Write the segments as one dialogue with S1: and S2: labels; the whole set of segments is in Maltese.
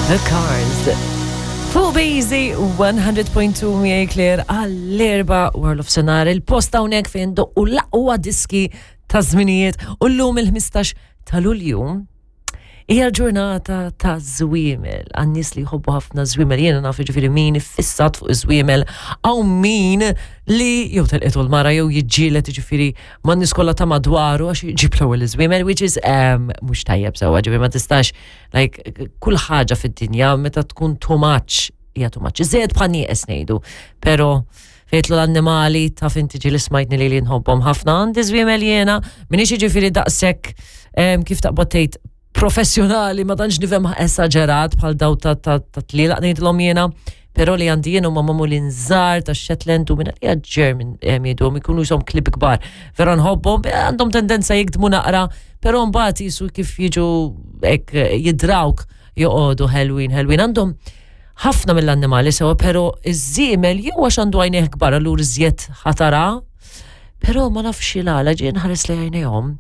S1: The Cars. Fuq Bejzi 100.2 miegħi Claire għall-erba World of Sonar il-post hawnhekk fejn doqqu l-aqwa diski ta' żminijiet u llum il-15 ta' Lulju hija l-ġurnata ta' żwiemel għan-nies li jħobbu ħafna żwiemel jiena naf jiġifieri min iffissat fuq iż-żwiemel hawn min li jew telqetu l-mara jew jiġġieled jiġifieri man-nies kollha ta' madwaru għax jġib l-ewwel iż-żwiemel which is um, mhux tajjeb sewwa ġifieri ma tistax like kull ħaġa fid-dinja meta tkun too much hija too much. Iżjed bħal nieqes ngħidu, però fejtlu l-annimali taf inti ġieli smajtni li li nħobbhom ħafna għandi żwiemel jiena, minix jiġifieri daqshekk kif taqbad tgħid professjonali ma tantx nifhem esaġerat bħal daw ta' tlielaq ngħidilhom jiena, però li għandi jien huma magħmulin żgħar ta' Shetland u minn għalija German jgħiduhom ikunu jisom klib kbar. Vera nħobbhom, għandhom tendenza jikdmu naqra, però mbagħad jisu kif jiġu hekk jidrawk joqogħdu ħelwin ħelwin għandhom ħafna mill-annimali sewa, pero iż-żiemel jew għax għandu għajnejh kbar allura iżjed ħatara, pero ma nafx il-għala ġie nħares li għajnejhom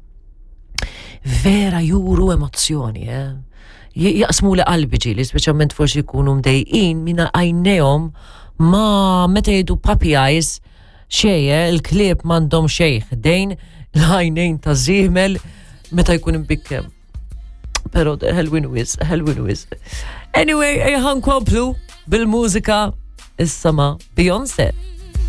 S1: vera juru emozzjoni, eh? Jaqsmu li qalbi ġieli, speċjalment forsi jkunu mdejqin minna għajnejhom ma meta jgħidu puppy eyes xej, eh, il-klieb m'għandhom xejn ħdejn l-għajnejn ta' żiemel meta jkun imbikkem. Pero ħelwin wis, ħelwin wis. Anyway, ejja nkomplu bil-mużika issa ma' Beyoncé.